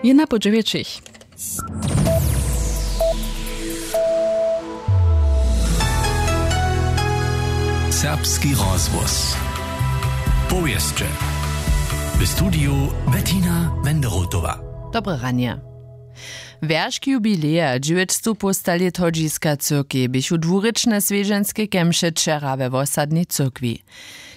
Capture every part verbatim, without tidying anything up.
Jena po dźewjećich. Serbski rozhłos. Powěsće. W studiju Bettina Wenderotowa. Dobre ranje. Wjeršk jubileja dźewjećstow połsta lět hodźiska cyrkej běchu dwurěčne swjedźenske kemše wčera we wosadnej cyrkwi.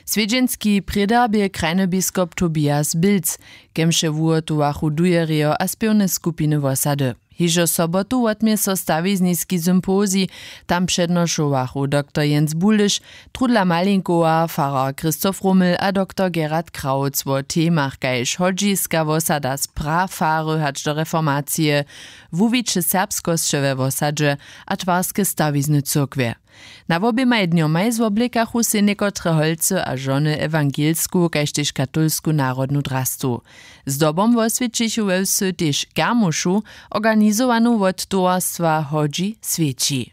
Swjedźenski prědar bě krajny biskop Tobias Bilc, kemše wuhotowachu dujerjo a spěwne skupiny wosady. Hižo sobotu wotmě so stawizniski sympozij. Tam přednošowachu doktor Jens Buliš, Trudla Malinkowa, farar Christoph Rummel a doktor Gerhard Krautz wo temach kaž hodźiska wosada z prafary hač do reformacije, wuwiće serbskosće we wosadźe a twarske stawizny cyrkwje. Na woběmaj dnjomaj zwoblěkachu sej někotre holcy a žony ewangelsku kaž tež katolsku narodnu drastu. Zdobom woswjećichu we wsy tež kermušu, organizowanu wot towarstwa hodźi swjeći.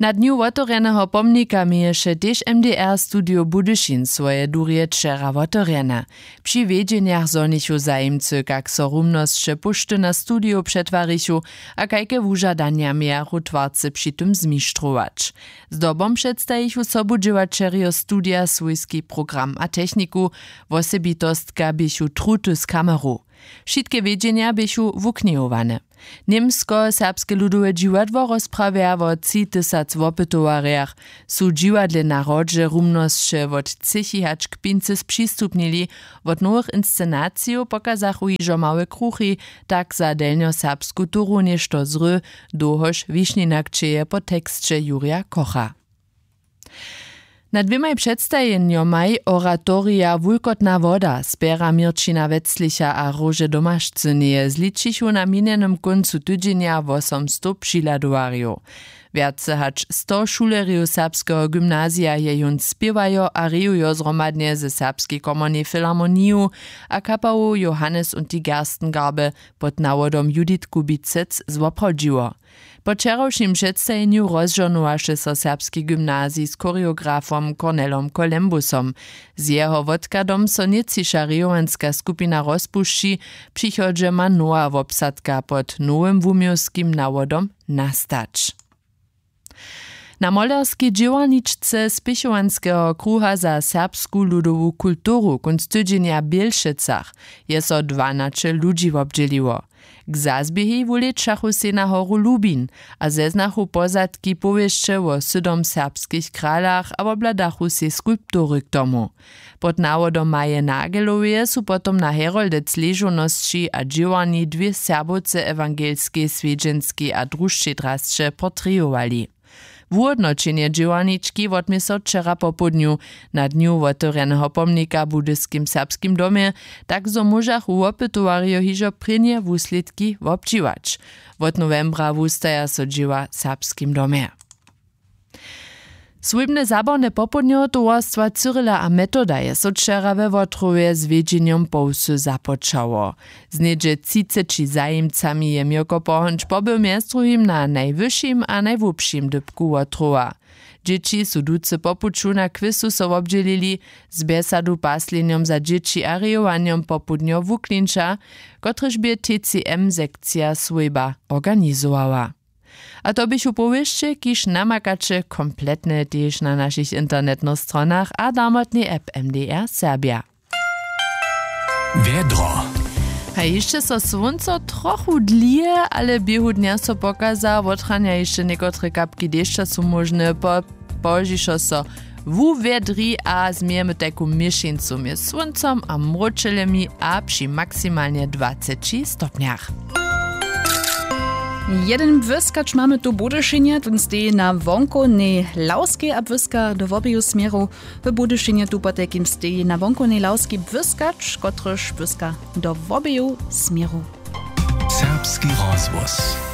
Na dnju wotewrjeneho pomnika měješe tež mdr studio budyšin swoje durje wčera wotewrjene. Při wjedźenjach zhonichu zajimcy kak so rumnosće póšty na studio přetwarichu a kajke wužadanja mějachu twarcy při tym zmištrować. Zdobom předstajichu sobudźěłaćerjo studija swójski program a techniku. Wosebitostka běchu truty z kameru. Wšitke wjedźenja běchu wuknihowane. Němskoserbske ludowe dźiwadło rozprawja wo tři tysac wopytowarjach. Su w dźiwadle na hrodźe rumnosće wot třěchi hač k pincy spřistupnili. Wot nowych inscenacijow pokazachu hižo małe kruchi, tak za delnjoserbsku turu něšto zry, dołhož wišninakćeje po teksće jurja kocha. Na dwěmaj předstajenjomaj oratorija wulkotna woda spjera měrćina weclicha a róže domašcyneje zličichu na minjenym kóncu tydźenja wosomstow přihladowarjow. Wjace hač sto šulerjow serbskeho gymnazija je jón spěwajo a rejujo zhromadnje ze serbskej komornej filharmoniju a kapałow johannes und die gerstengarbe pod nawodom judith kubicec zwoprawdźiło. Po wčerawšim předstajenju rozžohnowaše so serbski gymnazij z choreografom cornelom colembusom. Z jeho wotkadom so nětčiša rejowanska skupina rozpušći. W přichodźe ma nowa wobsadka pod nowym wuměłskim nawodom nastać. Na molerskej dźěłarničce spěchowanskeho kruha za serbsku ludowu kulturu kónc tydźenja w bělšecach je so dwanaće ludźi wobdźěliło. K zazběhej wulěćachu sej na horu lubin a zeznachu pozadki powěsće wo sydom serbskich kralach a wobhladachu sej skulptury k tomu. Pod nawodom maje nageloweje su potom na heroldec ležownosći a dźěłarni dwě serbowce ewangelskej swjedźenskej a drušćej drasće portrejowali. Wuhódnoćenje dźěłarnički wotmě so wčera popołdnju. Na dnju wotewrjeneho pomnika w budyskim serbskim domje, tak zo móžachu wopytowarjo hižo prěnje wuslědki wobdźěłać. Wot nowembra wustaja so dźěła w serbskim domje. Swójbne zabawne popołdnjo towarstwa cyrila a metoda je so wčera we wotrowje z wjedźenjom po wsy započało. Z něhdźe třiceći zajimcami je měrko pohonč pobył mjez druhim na najwyšim a najhłubšim dypku wotrowa. Dźěći su ducy po puću na kwěsu so wobdźělili z bjesadu paslenjom za dźěći a rejowanjom popołdnjo wuklinča, kotrež bě tcm sekcija swójba organizowała. A to běchu powěsće kiž namakaće kompletne tež na našich internetnych stronach a damotnej app mdr serbja. Wjedro. A hišće so słónco trochu dlije ale běhu dnja so pokaza wotranja hišće někotre kapki dešća su móžne po połožišo so wuwjedri a změjemy tajku měšeńcu mjez słóncom a mróčelemi a při maksimalnje dwaceći stopnjach. Jedyn błyskač mamy tu w budyšinje tón steji na wonkownej lawskej a błyska do wobeju směrow. W budyšinje tu potajkim steji na wonkownej lawskej błyskač kotryž błyska do wobeju směrow. Serbski rozhłos.